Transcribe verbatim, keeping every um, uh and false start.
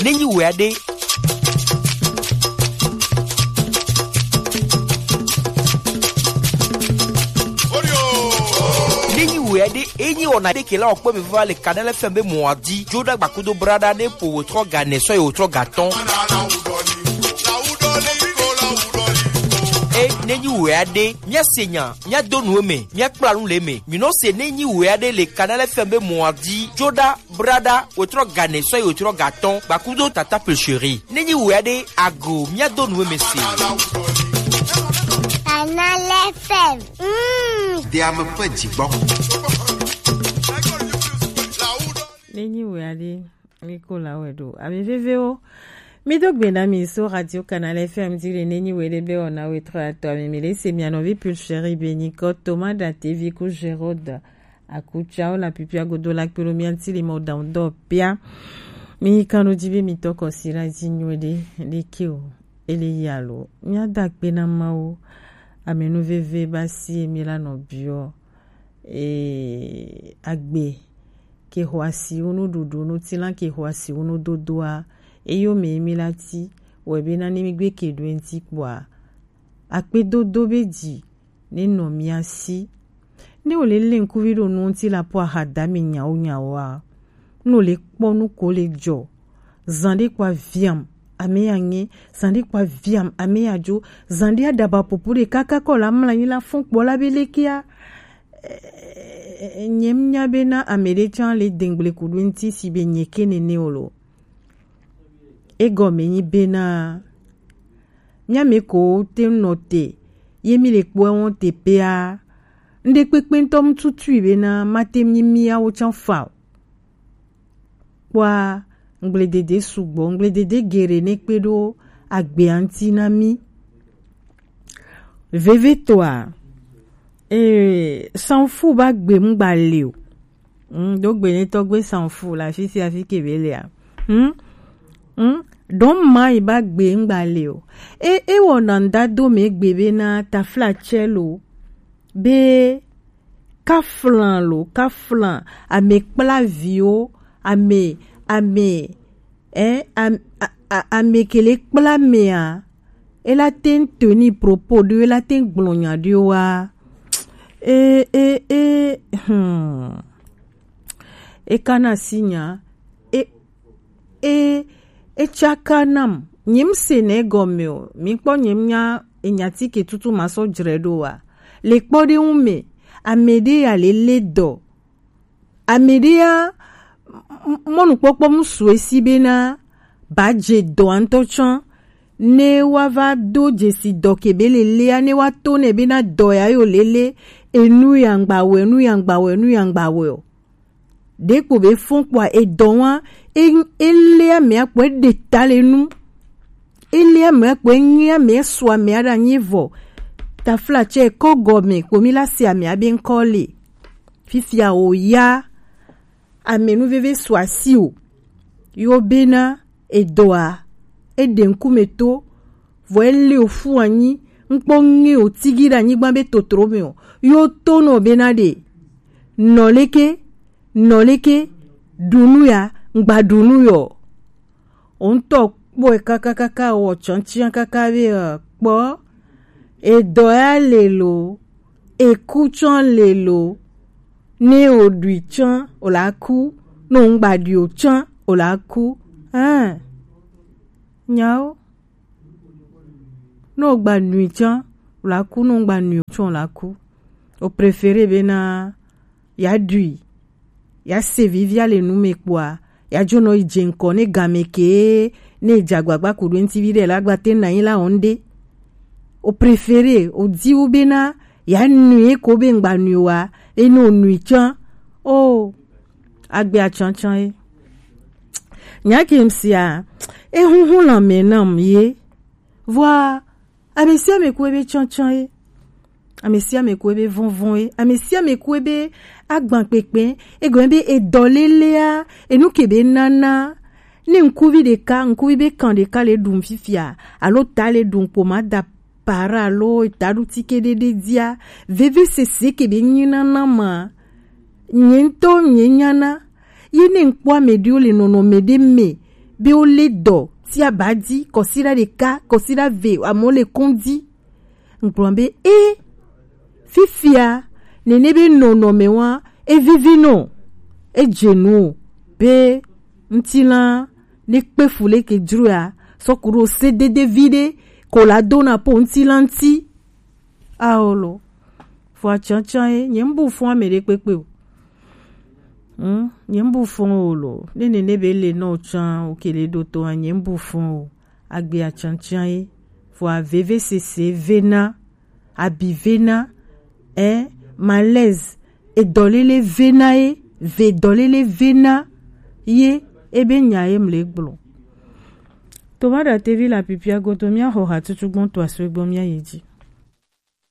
Ne nyi wɛ aɖe. Ne nyi wɛ aɖe, e nyi wɔna ɖe ke la wɔkpɔ mi va le Kanal F M be mɔ adi. Joɖa gbakudo braɖa ne po wòtrɔ ga nɛ sɔ ye wòtrɔ ga tɔn. E ne nyi wɛ aɖe, mía se nya, mía do nu eme, mía kpla nu le eme. Mi nɔ se ne nyi wɛ aɖe le Kanal F M be mɔ adi. Joɖa braɖa, wòtrɔ ga nɛ sɔ ye wòtrɔ ga tɔn, gbakudo tata pecheri. Ne nyi wɛ aɖe, ago, mía do nu eme se. Kanal F M. Mm. Deame ƒe dzigbɔ. Ne nyi wɛ aɖe, mi ko la wɛ ɖo. Ame vevewo, mi do gbe na mi so Radio Kanal F M di le ne nyi wɛ ɖe be wɔna wɛ trɔ atɔ ame mi le se mia nɔvi pecheri be nyi kɔ Thomas Datevi ku Gérode. Akutsawo le apipia godo la kpe ɖo mía ŋuti le mɔ ɖaŋu dɔ pia. Mi kan ɖo dzi be mi tɔ kɔsi la dzi nyuie ɖe, ɖeke o, ele yi alo. Mía da akpe na Mawu, ame nu veve ba si mi la nɔ biɔ. E, agbe ke xɔ asi wo nu ɖuɖu nu ti la ke xɔ asi wo nu dodoa, eyo me mi la ti, wɔ be na ne mi gbe ke ɖo ŋuti kpɔa, akpe dodo be dzi ne nɔ mía si. Ne wòle lé ŋkuvi ɖo nu ŋuti la po ahadame nyawo nyawoa, ne wòle kpɔ nu ko le dzɔ. Zan ɖe kpɔ aviam, ame ya ŋe, zan ɖe kpɔ aviam, ame ya dzo, zan ɖe aɖaba popo ɖe kaka kɔ la mla anyi la fɔn kpɔ la be lekea. Nye nya bena ame ɖe tsã le dengble ku ɖo ŋuti si be nye ke nene o lo. Egɔme nyi bena, mía me ko te nɔ te, ye mi le kpɔɛ wɔn te pea, ŋɖe kpekpe ŋutɔ mu tutui bena mate nyi miawo tsã fa o. Kpɔa, ŋgbledede sugbɔ, ŋgbledede geɖe ne kpe ɖo agbea ŋuti na mi. Vevetɔa, ee, sanfu ba gbe ŋgba le o. Hmm, do gbe ne tɔgbe sanfu la fi sia fi ke be lea. Hmm? Hmm? Don mai ba gbe ŋgba le o. E, e wɔna ŋda do me gbe be na tafla tsɛ lo. Be kaflan lo, kaflan, ame kpla viwo, ame, ame, eh, am-, a, a, ame ke le kpla mea, e la te ŋ tenir propos ɖewo, e la te ŋ gblɔ nya ɖewo wa. E, e, e, hmm. E kana si nya, e, e, e tsaka nam. Nyem se ne gɔme o. Mi kpɔ nyem nya enya ti ke tutu ma sɔ dzre ɖo wa. Le kpɔ ɖe ŋu me, ame ɖe ya le le dɔ. Ame ɖe ya, m-, m-, mɔnukpɔkpɔ mu su esi be na ba dze dɔa ŋutɔ tsã. Ne wa va do dzesi dɔ ke be le lea, ne wa to ne be na dɔ ya yo le le, enu ya ŋgba wɛ, enu ya ŋgba wɛ, enu ya ŋgba wɛ o. Ɖekpo be fɔn kpɔa edɔ wa, e, e le ame akpɔ, e ɖe ta le nu. E le ame akpɔ, e nye ame, e sɔ ame aɖe anyi vɔ. Tafla tsɛ kɔ gɔme kpo mi la se ame abe ŋkɔ le. Fifia o ya, ame nu veve sɔ asi o. Yo bena edɔa, e ɖe ŋkume to, vɔ e le o fu anyi, ŋkpɔ ŋe o tigi ɖe anyigba be totro me o. Yo to nɔ bena ɖe, nɔ leke, nɔ leke, ɖu nu ya, ŋgba ɖu nu yɔ. O ŋutɔ kpɔe kakakaka wɔ tsɔntsia kaka be, eh, kpɔ, edɔ ya le lo, eku tsã le lo, ne o ɖui tsã o la ku, ne o ŋgba ɖui o tsã o la ku. Hein. Nyawo. Ne o gba nui tsã o la ku, ne o ŋgba nui o tsã o la ku. O préféré bena ya ɖui, ya se vivia le nu me kpɔa, ya dzo nɔ yi dze ŋkɔ ne game ke ne dze agbagba ku ɖo ŋuti viɖe la gba te na yi la wɔn ɖe. O préféré, o di wu bena ya nui ko be ŋgba nui wa, eno nui tsã. O, agbe atsantsan ye. Nya ke sia, e huhu la me nam ye. Vɔa, ame sia ame ku ebe tsantsan ye. Ame sia ame ku ebe vɔnvɔn ye. Ame sia ame ku ebe agban kpekpe. Egɔme be edɔ lelea, enu ke be nana. Ne ŋkuvi ɖeka, ŋkuvi be kan ɖeka le ɖum fifia, alo ta le ɖum kpo ma da para alo taɖutike ɖe ɖe dia, vevesese ke be nyi nana ma. Nye ŋutɔ nye nyana. Ye ne ŋkpɔ ame ɖewo le nɔnɔme ɖe me, Be wo le dɔ ti aba di, kɔsiɖa ɖeka, kɔsiɖa ve, amɔ le kɔn di. Ŋgblɔ be e fifia nene be nɔnɔme wa e vivi nɔ, e dze nu o, be ŋutilã ne kpe fu leke dzro ya, sɔ ku ɖo se dede vi ɖe ko la do na po ŋutilã ŋuti. Ao lo, fo atsantsan ye, nye ŋbu fɔn ame ɖe kpekpe o. Hmm, nye ŋbu fɔn o lo. Ne nene be le nɔ tsan o kele ɖo to a, nye ŋbu fɔn o. Agbe atsantsan ye. Fo aveve sese vena, abi vena, eh, malaise, edɔlele vena ye, ve dɔlele vena ye, ebe nya ye mle gblɔ. Toma ɖatevi le apipia godo, míaxɔ hatutu gbɔn to asue gbɔn míayi dzi.